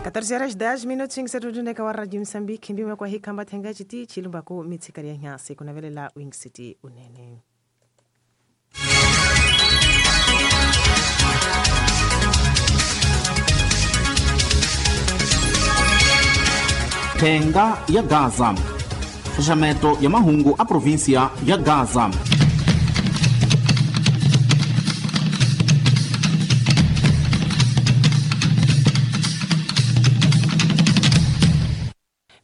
14 horas 10 minutos setutundeka wa Radio Msambiki mbimwe kwa hikamba thenga chiti chilumbaku mitsikari ya nyasi kunavelela Wing City unene. Thenga ya Gaza, xaxameto ya mahungu a província ya Gaza.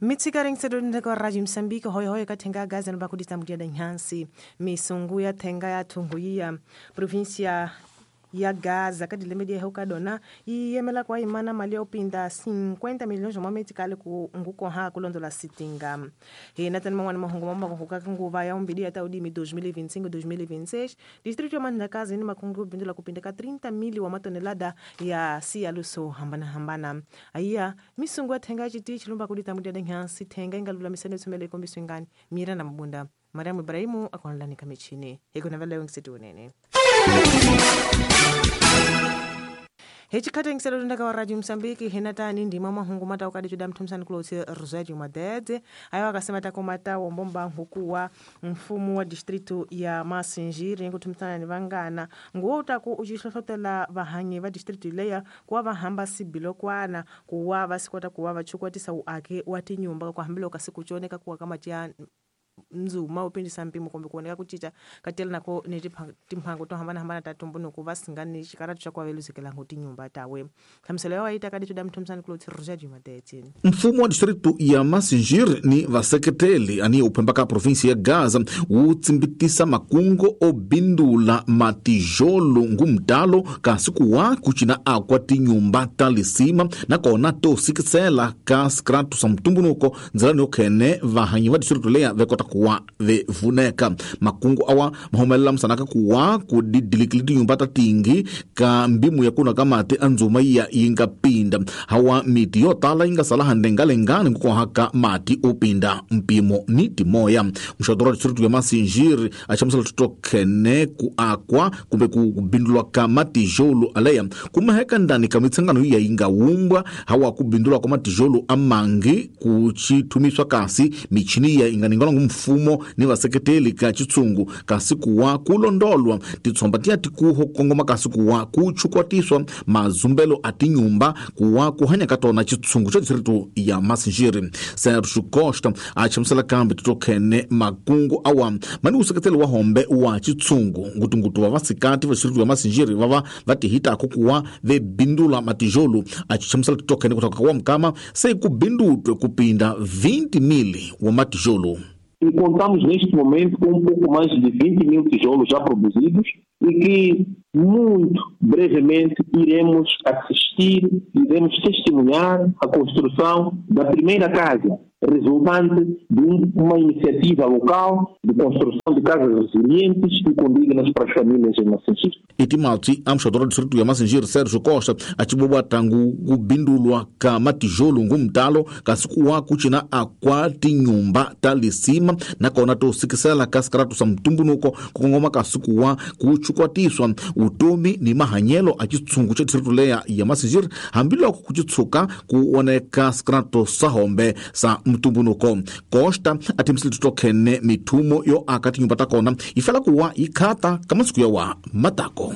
Mitsikari nsetutundeka wa Radio Msambiki hoyohoyo ka thenga ya Gaza nobakudita da nhansi misungu ya thenga ya thunguyiya província ya Gaza kadilemedi yahe ukadona yiyemela kwa imana mali ya upinda 50 milhões de mametikali ku ngukoha kulondola sitinga. Hina tani man'wana mahungu mamakuhuka nguva ya umbili ya taudimi 2025 2026 distrito ya Mandakazi ni makungu bindula kupinda ka 30 mili wa matonelada ya siyaluso hambana hambana. Aiya misungu ya thenga chiti chilumba kudita mudia denhansi thenga ingalulamisene tsumele ikombiso ingani mira na mabunda Mariamu Ibrahimu akonlani kamichini hikunavela yongisiti unene. Hechikhathi ngiselolundaka wa Radio Msambiki hinatani ndima mahungu mata ukadichuda mthumsani kulotsi Rosario Madede ayo akasema takomata wombomba nhukuwa mfumo wa distrito ya Masinjiri nkuthumsana ni vangana nguwo utaku uchihlohlotela vahanyi va distrito leya kuwa vahamba sibilokwana kuwa vasikota kuwa vachukwatisa uake wa tinyumba kwa hambilo kasikuchoneka kuwa kama tia nzuma upindisa mpimo kumbe kuoneka kuchicha katela nako ni timpango to hambana hambana tatumbunuku vasingani xikaratu xa kuaveluzekelango tinyumba tawe hlamuselo ya waita kadichuda mthumsani kulotsi Rosario Madede. Mfumo wa distrito ya Masinjiri ni vaseketeli ani uphemba ka província ya Gaza wu tsimbitisa makungo obindula matijolo ngumtalo kasi kuwa kucina akwa tinyumba ta lisima nakona to sikisela ka sikratu sa mtumbunuko ndzilani yokhene vahanyi va distrito leya vekota kuwa vevuneka. Makungu awa mahumelela msanaka kuwa kudidilikili tinyumba ta tingi ka mbimu ya kuna kamati andzuma iya yinga pinda hawa miti yo tala yinga sala handengalengani nkukohaka mati upinda mpimo ni timoya. Mxadoro wa distrito ya Masinjiri achamusela tutokhene ku akwa kumbe kubindulwa ka matijolo aleya kumaheka ndani ka mitsangano iya yinga wumbwa hawa kubindulwa kwa matijolo amangi kuchithumiswa kasi michini iya inganingalwa mfumo ni vaseketeli ka chitsungu kasi kuwa kulondolwa titsomba tiya tikuho kongoma kasi kuwa kuchukwatiswa mazumbelo a tinyumba kuwa kuhanya ka tona chitsungu cha distrito ya Masinjiri. Sergio Costa achamusela kambe titokhene makungu awa mani useketeli wa hombe wa chitsungu ngutungutu wa vasikati va distrito ya Masinjiri vava vatihitako kuwa vebindula matijolo achichamusela titokhene kutoka kwa mkama sei kubindutwe kupinda 20 mili wa matijolo. E contamos neste momento com um pouco mais de 20 mil tijolos já produzidos e que muito brevemente iremos assistir, iremos testemunhar a construção da primeira casa, resultante de uma iniciativa local de construção de casas resilientes e condignas para as famílias em Masinjiri. Itimatsi amxadora distrito ya Masinjiri Sergio Costa achibobwa tangu kubindulwa ka matijolo ngumtalo kasi kuwa kuchina akwa tinyumba ta lisima nakona to sikisela ka sikaratu sa mtumbunuko kukongoma kasi kuwa kuchukwatiswa utomi ni mahanyelo a chitsungu cha distrito leya ya Masinjiri hambiloko kuchitsuka kuoneka sikaratu sa hombe sa mtumbunuko. Costa athimisile tutokhene mithumo yo aka tinyumba ta kona ifela kuwa yikhata ka masiku ya wa matako.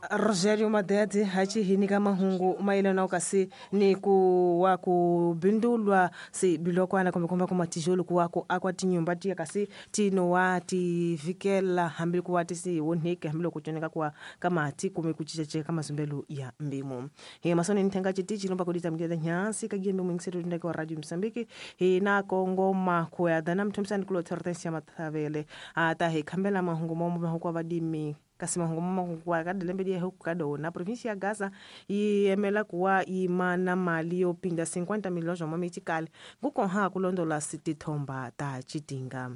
Rogerio Madede hachihinika mahungu mailana kasi ni kuwa kubindulwa si bilokwana kumbe kumbe kumatijolo kuwa ku akwa tinyumba tiya kasi tinowa tivikela hambi kuwa tisi wonheke hambi kuchoneka kwa kamati kume kuchicheche kama zumbelu ya mbimo. He masoni nithenga chiti chilomba kudita mgeda nyansi kagiembe mwingisetu ndeke wa Radio Msambiki he na kongoma kuya dana mthumsani kulo Hortensia Mathavele ata he khambela mahungu momo mahungu vadimi kasi mahungu makuwa kadilembe dia huku kadona província ya Gaza yiyemela kuwa imana mali yopinda 50 milhões de mamitikali ngukonha kulondola sitithomba ta chitinga.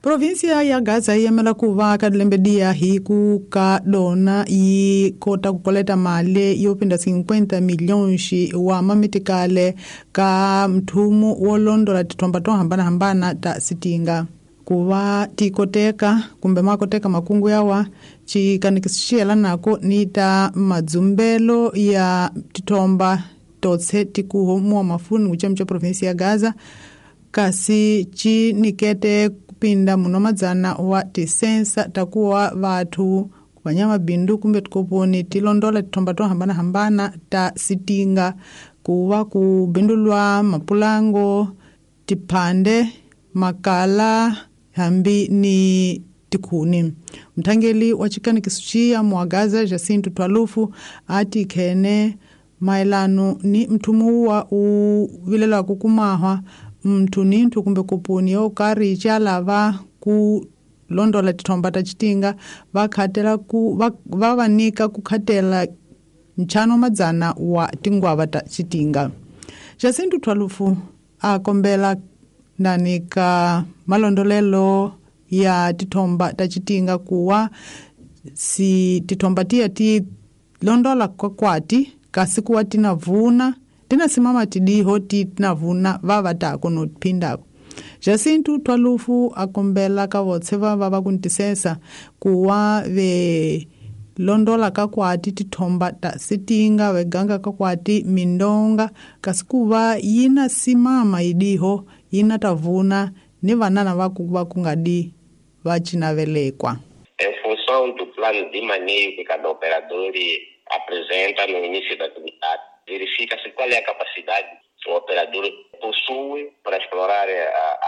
Província ya Gaza yiyemela kuva kadilembe dia hiku kadona yi kota kukoleta mali yopinda 50 milhões wa mamitikale ka mthumu wolondola tithomba to hambana-hambana ta sitinga. Kuva tikoteka kumbe makoteka makungu yawa chikanikisi xiyelanako ni ta madzumbelo ya tithomba totse tikuho muwa mafuni kuchemu cha provinsi ya Gaza kasi ci nikete kupinda muno madzana wa tisensa takuwa vathu vanyama bindu kumbe tikoponi tilondola tithomba to hambanahambana ta sitinga kuva kubindulwa mapulango tiphande makala hambi ni tikhuni. Mthangeli wa chikanikiso ciya muwagaza Jacinto Twalufu ati khene maelano ni mthumu wa uvilelwaku kumahwa mnthu ni nthu kumbe kupuni yo karhi calava ku londola tithomba ta citinga va ku va vanika ku khatela nchano madzana wa tingwava ta citinga. Jacinto Twalufu a kombela ndani ka malondolelo ya tithomba ta citinga kuwa si tithomba tiya ti londola kwakwati kasi kuwa tinavuna tinasimama tidiho ti tinavuna vava tako nophindako. Jacinto Twalufu akombela ka votse vava va kuntisesa kuwa ve londola kakwati tithomba ta sitinga veganga kakwati mindonga kasi kuva yina simama idiho yina tavuna ni vanana va kungadi va cinavelekwa. Em função do plano de manejo que cada operador apresenta no início da atividade, verifica-se qual é a capacidade que o operador possui para explorar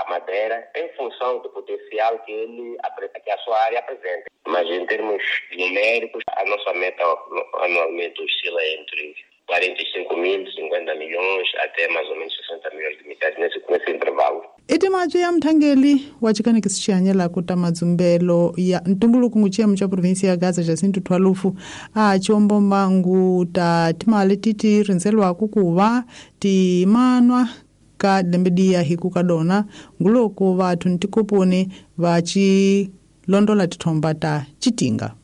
a madeira em função do potencial que que a sua área apresenta. Mas em termos numéricos, a nossa meta anualmente oscila entre 45 mil, 50 milhões, até mais ou menos 60 milhões de metais nesse intervalo. Etimatswe ya mthangeli wa chikanikisi xihanyela ku ta madzumbelo ya ntumbuluko nguchiyemu cha provinsi ya Gaza Jacinto Twalufu a chombomba ngu ta timali titi rindzelwaku kuva timanwa ka lembe diya hiku ka dona nguloko vathu ni tikoponi va ci londola tithomba ta citinga.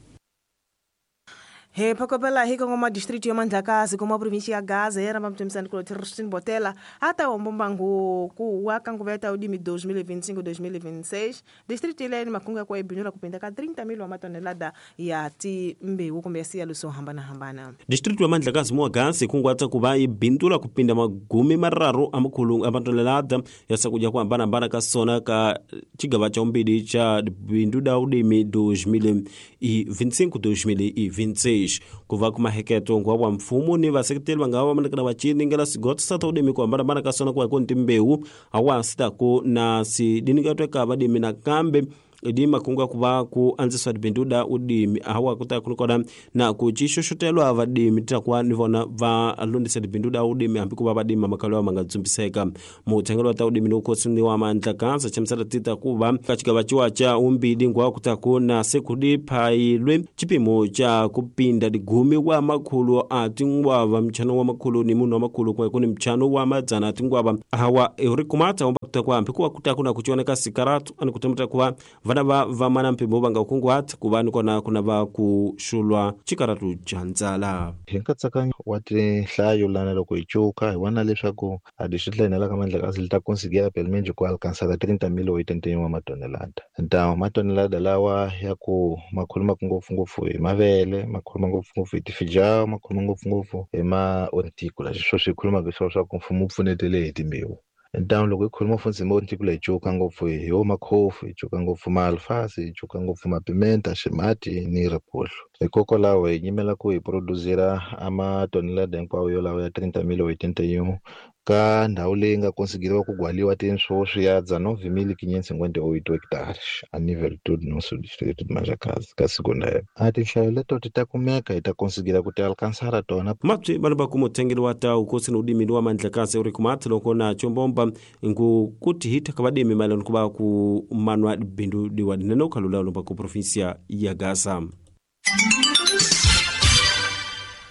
He phokopela hi kongoma district ya Mandlakazi koma provinsi ya Gaza era mamtsemisani kulo Tristan Botela ata wombombangu ku wa kanguveta udimi 2025 2026 district ile ni makunga kwa ibinula kupinda ka 30 mil wa matonelada ya timbewu kumbe siya luso hambana hambana. District ya Mandlakazi mwa Gaza kungwatsa kuva ibindula kupinda magumi mararu amakhulu amatonelada ya sakuja kwa hambana hambana ka sona ka chigava cha umbili cha bindu da udimi 2025 2026 kuva kumaheketo ngwa wa mfumo ni vaseketeli vanga va manakana va ciningela sigotso sa ta udimi ku hambana-hambana ka sona ku ya ku ni timbewu hawa sitaku na sidinikatwe ka vadimi nakambe idi makungu akuva ku andziswa tibindu da udimi hawa kuta kunikona na ku cixoxotelwa vadimi takuva ni vona va lundisa tibindu da udimi hambi ku va vadimi mamakalo ya manga dzumbiseka. Muthengelo wa ta udimi ni ni wa Mandlakazi chamusela tita kuva ka xigava ciwa ca umbili ngwa kutaku na sekudi phayilwe cipimo ca kupinda ligumi wa makhulu a tingwava mchano wa makhulu ni munhu wa makhulu kumwe kuni mchano wa madzana a tingwava hawa uri kumata omba kutaku hambi kuva kutaku na kucioneka sikaratu ani kutemeta kuva vana va vamana mpimo vanga kunguhata kuva ni kona kuna va kuxulwa xikaratu xa ndzala. Hi nkatsakanyo wa tinhlayo lana loko hi cuka hi vona leswaku a distrito la hina la ka Mandlakazi li ta conseguir pelo menos ku alcançar 30.081 wa matonelada. Então matonelada lawa ya ku ma khulumaka ngopfungopfu hi mavele, ma khuluma ngopfungopfu hi tifijao, ma khuluma ngopfungopfu hi ma horticola. Sweswo swi khulumaka hi swona swa ku mfumo wu pfunetele hi timbewu. Então loko hi khuluma futhi hi ma-horticola hi cuka ngopfu hi wo makhofu, hi cuka ngopfu maalfasi, hi cuka ngopfu mapimenta, ximati ni riphuhlu. Hikokwalaho hi nyimela ku hi produzira a matonelada hinkwawo yolawo ya 30.081 ka ndhawu leyi nga konsigiriwa ku gwaliwa tinswoswi ya 19.558 hectares a nível todo nosso distrito de Manjacaze ka segunda época. A tinhlayo leto ti ta kumeka hi ta konsigira ku ti alcançar tona. Mapsi vanhu va ku muthengeli wa ta ukosi ni udimi wa Mandlakazi uri kumata loko na chombomba ngu kuti hita ka vadimi mayelana ku va ku manwa bindu diwa dinene ukhalula lomba ku provinsia ya Gaza.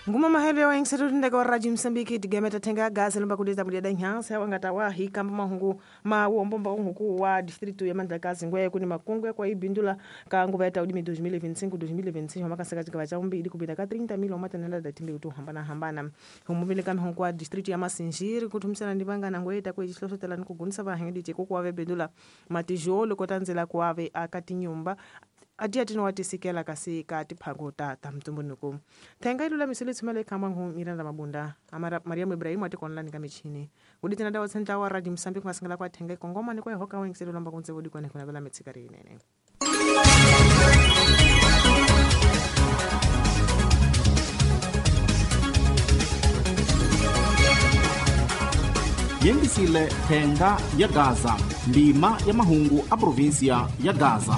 Nguma mahelo ya waingiseto tindeka wa Radio Msambiki tigemeta thenga gaza lomba kudeta mudyada nhansa ya wangata wa hikamba mahungu mawombo huku wa distrito ya Mandlakazi ngwe kuni makungu ya kwa ibindula ka nguva ya taudimi 2025 2026 wamakasaka chikava cha umbili kupita ka 30,000 omatenela da timbe kutu hambana hambana humuvile ka mihungu wa distrito ya Masinjiri kuthumisana ndi vangana ngwe ta kwe xihlohlotela ni kugunisa vahengedi tiko kuwave bindula matijolo kotandzela kuwave akatinyumba atiya tinowatisikela kasi ka tiphango ta mtumbuluko thenga ilulamisile tshumela ikhamba ngu Miranda Mabunda amara Mariam Ibrahim atikonlani ka michini kuditina dawa tsentla wa Radio Msambiki kungasingela kwa thenga ikongoma ni kwa ihoka wengiselo lomba kuntse vudikwane kuna vela mitsikari inene. Yengisile thenga ya Gaza, ndima ya mahungu a provinsia ya Gaza.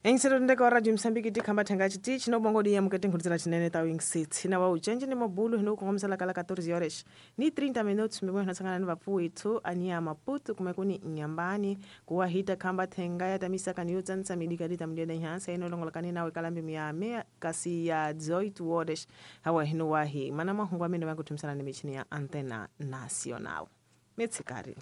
Engiselo ndeka wa Radio Msambiki tikhamba thenga chiti chinobongodi ya mukete nkhudzela chinene ta wing sits na wa uchenje ni mabulu hino kukongomisela kala 14 horas ni 30 minutos mibwe hino ni vapfuwithu ania Maputo kume kuni Nyambani kuwa hita khamba thenga ya tamisa kani yotsanisa midika dita mdiada nhansa ino longolakani nawe kalambi miyame kasi ya 18 horas hawa hino wahi mana mahungu amene vakuthumisana ni michini ya Antena Nacional. Mitsikari.